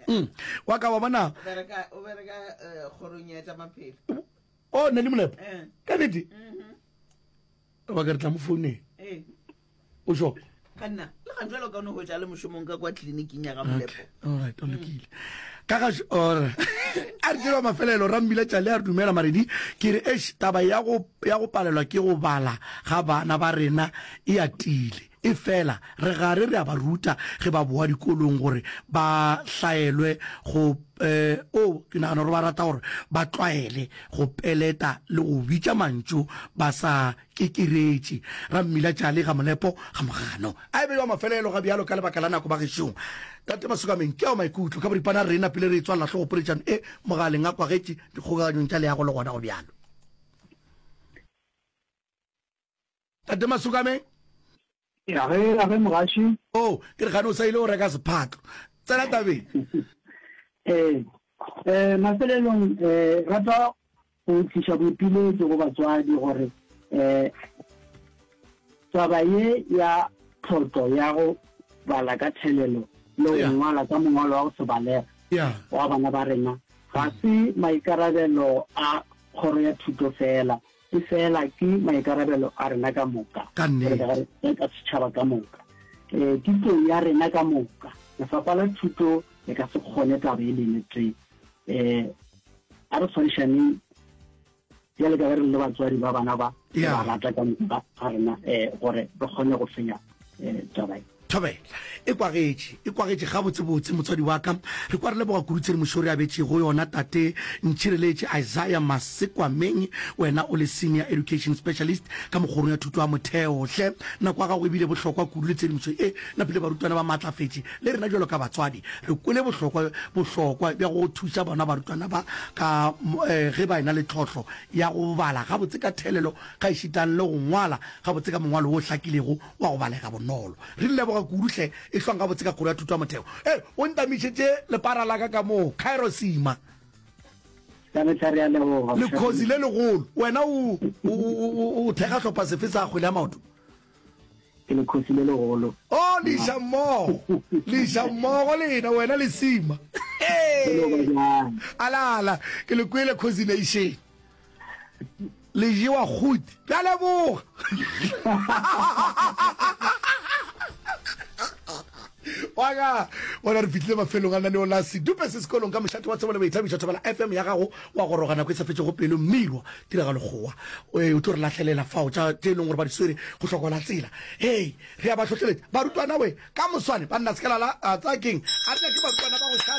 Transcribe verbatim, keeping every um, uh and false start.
Mm. Wa ka wa bona. O bereka o bereka eh, kgorong ya tša maphelo. O ne le molepo. Eh. Ka nnete. Mhm. Ba ka re tla mo founeng. Eh. O sure? Ka nna le ga jalo ka no hwetša le mošomong ka kwa tleliniking ya ga Molepo. Okay. All right, o lokile. Ka ga or a re tseba mafelelo Rammila Tšale a re dumela Maredi ke re eish taba ya go ya go palelwa ke go bala ga bana ba rena e atile. E fela re gare re a ba ruta ge ba boa dikolong gore ba hlaelwe go eh o ke nagana gore ba rata gore ba tlwaele go peleta le go bitša mantšu ba sa kekeretše. Rammila Tšale ga Molepo ga Mogano. A e be wa mafelelo ga bjalo ka lebaka la nako bagešong. Tate Masukameng, ke ao maikutlo ka boripana re napile re e tswalela hlogo poletšano e mogaleng a kwagetše dikgokaganyong tša leago le gona go bjalo. Tate Masukameng. Ya ge, ya ge mogaši. Oh, ke re gane o sa ile o reka sephatlo. Tsena tabeng. Eh, eh, mafelelong eh rata go tliša boipiletšo go batswadi gore eh taba ye ya tlhotlo ya go bala ka thelelo le go Yeah. ngwala ka mongwalo wa go se balega Yeah. wa bana ba rena ga se maikarabelo a kgoro ya thuto fela, e fela ke maikarabelo a rena ka moka, Ka nnete. re ka ka setšhaba ka moka. Eh, ke tlou ya rena ka moka. Lefapha la thuto le ka se kgone taba e lene tee. Eh, a re tshwarišaneng bjale ka ge re le batswadi ba bana ba, re Yeah. ba rata ka moka ga rena eh, gore re kgone go fenya eh, taba e. Thobela e kwagetše, e kwagetše gabotsebotse motswadi wa ka. Re kwa re leboga kudu tshedimošo re abetšego yona tate Ntšhireletše Isaiah Masekwameng, wena o le Senior Education Specialist ka mokgorong ya thuto ya motheo. Hle nako ya gago e bile bohlokwa kudu le tshedimošo e napile barutwana ba maatlafetše le rena bjalo ka batswadi re kwele bohlokwa bohlokwa bja go thuša bona barutwana ba ka eh, ge ba ena le tlhohlo ya go bala gabotse ka thelelo gaešitang le go ngwala gabotse ka mongwalo wo hlakilego wa go balega bonolo. Re leboga kudu hle, e hlwang gabotse ka kgoro ya thuto ya motheo. E, o ntamišetše lepara la ka ka moo, Cairo Sima. Ka mehla re a leboga. Lekhozi le legolo. Wena o, o, o, o thekga hlopha sefe sa kgwele ya maoto? Ke lekhosi le legolo. Oh, le iša mmogo. Le iša mmogo lena, wena le Sima. Hey! Ala, ala, ke le kwele Khosi Nation. Le jewa kguti. Ke a leboga. Wa ka bona re fihlile mafelong a lenaneo la Sedupe se sekolong ka mošate wa tsebo le boithabišo Thobela F M ya gago wa goroga nako e sa fetšego pelo Mmirwa tiragalo kgowa o tlo re lahlelela fao tša tše e leng gore ba di swere go hlokola tsela hei re a ba hlohleletša barutwana we ka moswane banna se ka lala a tsaya keng a re nyake barutwana ba go šala.